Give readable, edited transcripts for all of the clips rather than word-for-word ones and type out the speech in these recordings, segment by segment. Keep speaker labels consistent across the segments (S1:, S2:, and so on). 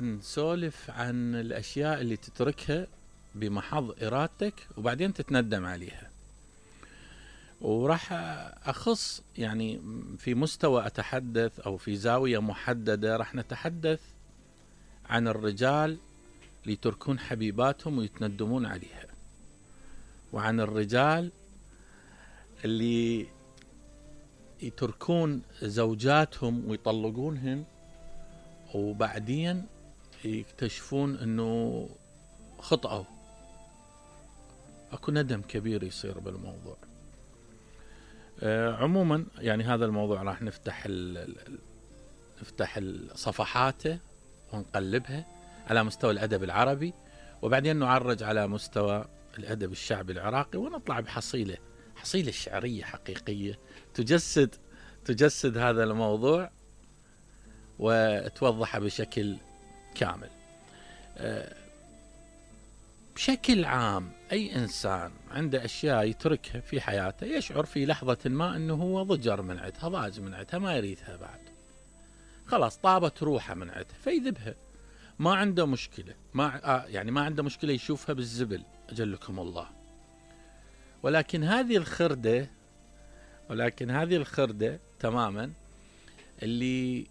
S1: نسولف عن الأشياء اللي تتركها بمحض إرادتك وبعدين تتندم عليها. وراح أخص يعني في مستوى أتحدث أو في زاوية محددة، راح نتحدث عن الرجال اللي يتركون حبيباتهم ويتندمون عليها، وعن الرجال اللي يتركون زوجاتهم ويطلقونهن وبعدين يكتشفون انه خطأوا. اكو ندم كبير يصير بالموضوع. عموما يعني هذا الموضوع راح نفتح صفحاته ونقلبها على مستوى الأدب العربي، وبعدين نعرج على مستوى الأدب الشعبي العراقي، ونطلع بحصيلة شعرية حقيقية تجسد هذا الموضوع وتوضحه بشكل كامل. بشكل عام أي إنسان عنده أشياء يتركها في حياته يشعر في لحظة ما أنه هو ضجر من عندها، ضاج من عندها، ما يريدها بعد، خلاص طابت روحه من عندها فيذبها، ما عنده مشكلة، ما عنده مشكلة يشوفها بالزبل أجلكم الله. ولكن هذه الخردة تماما اللي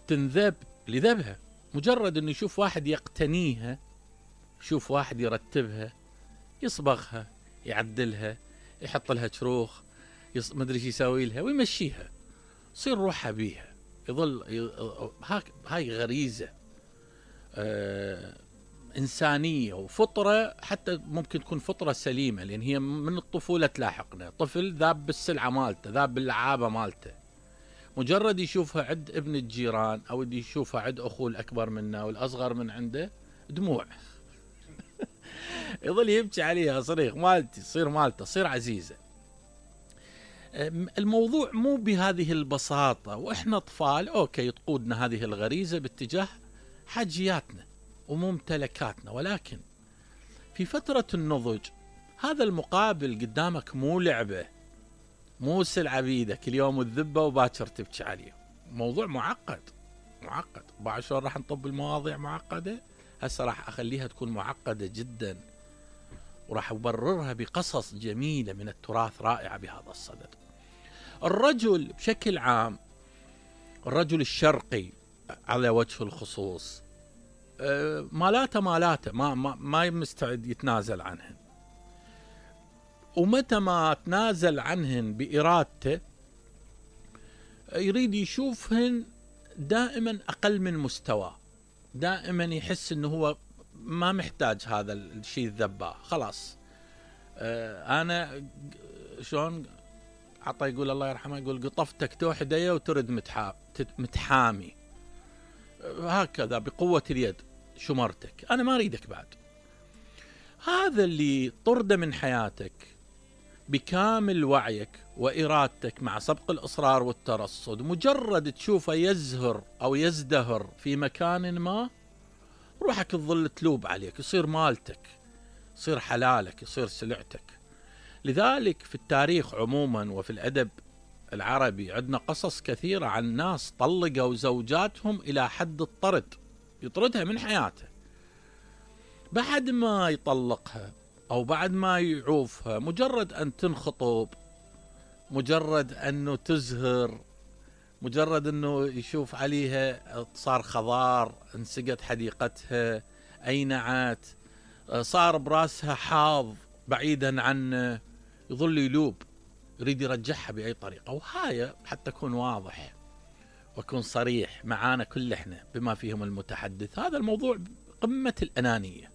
S1: تنذب لذبها، مجرد أنه يشوف واحد يقتنيها، يشوف واحد يرتبها، يصبغها، يعدلها، يحط لها شروخ، مدري شو يسوي لها ويمشيها، يصير روحها بيها، يظل هاي غريزة إنسانية وفطرة، حتى ممكن تكون فطرة سليمة، لأن هي من الطفولة تلاحقنا. طفل ذاب بالسلعة مالته، ذاب باللعابة مالته، مجرد يشوفها عند ابن الجيران أو يشوفها عند أخوه الأكبر منه والأصغر من عنده، دموع يظل يبكي عليها، صريخ مالتي تصير مالته، تصير عزيزة. الموضوع مو بهذه البساطة، وإحنا أطفال أوكي تقودنا هذه الغريزة باتجاه حاجياتنا وممتلكاتنا، ولكن في فترة النضج هذا المقابل قدامك مو لعبة، مو سلعة بيدك اليوم الذبة وباكر تبكي عليه. موضوع معقد. بعد شلون راح نطب المواضيع معقدة، هسه راح أخليها تكون معقدة جدا، وراح أبررها بقصص جميلة من التراث رائعة بهذا الصدد. الرجل بشكل عام، الرجل الشرقي على وجه الخصوص، مالاته ما مستعد يتنازل عنهن، ومتى ما تنازل عنهن بإرادته يريد يشوفهن دائما أقل من مستوى، دائما يحس انه هو ما محتاج هذا الشيء الذباه، خلاص. انا شلون عطى يقول الله يرحمه، يقول قطفتك توحديه وترد متحامي، هكذا بقوة اليد شمرتك، انا ما اريدك بعد. هذا اللي طرده من حياتك بكامل وعيك وإرادتك مع سبق الإصرار والترصد، مجرد تشوفه يزهر أو يزدهر في مكان ما، روحك تظل تلوب عليك، يصير مالتك، يصير حلالك، يصير سلعتك. لذلك في التاريخ عموما وفي الأدب العربي عندنا قصص كثيرة عن ناس طلقوا زوجاتهم إلى حد الطرد، يطردها من حياته بعد ما يطلقها أو بعد ما يعوفها، مجرد أن تنخطب، مجرد أنه تزهر، مجرد أنه يشوف عليها صار خضار، انسقت حديقتها، أينعت، صار براسها حاض بعيدا عنه، يظل يلوب، يريد يرجعها بأي طريقة. وهاي حتى أكون واضح وأكون صريح معانا كل إحنا بما فيهم المتحدث، هذا الموضوع قمة الأنانية،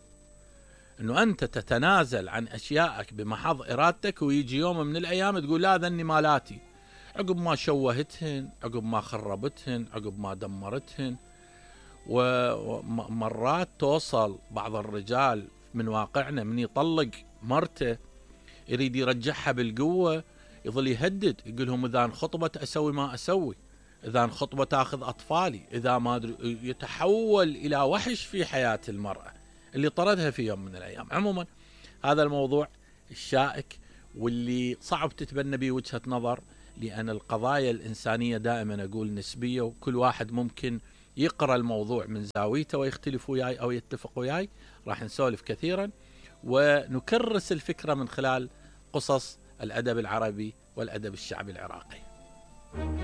S1: أنه أنت تتنازل عن أشيائك بمحض إرادتك، ويجي يوم من الأيام تقول لا ذني مالاتي، عقب ما شوهتهن، عقب ما خربتهن، عقب ما دمرتهن. ومرات توصل بعض الرجال من واقعنا من يطلق مرته يريد يرجعها بالقوة، يظل يهدد، يقولهم إذا انخطبت أسوي ما أسوي، إذا انخطبت أخذ أطفالي، إذا ما أدري، يتحول إلى وحش في حياة المرأة اللي طردها في يوم من الأيام. عموما هذا الموضوع الشائك واللي صعب تتبنى به وجهة نظر، لأن القضايا الإنسانية دائما أقول نسبية، وكل واحد ممكن يقرأ الموضوع من زاويته ويختلف وياي أو يتفق وياي، راح نسولف كثيرا ونكرس الفكرة من خلال قصص الأدب العربي والأدب الشعبي العراقي.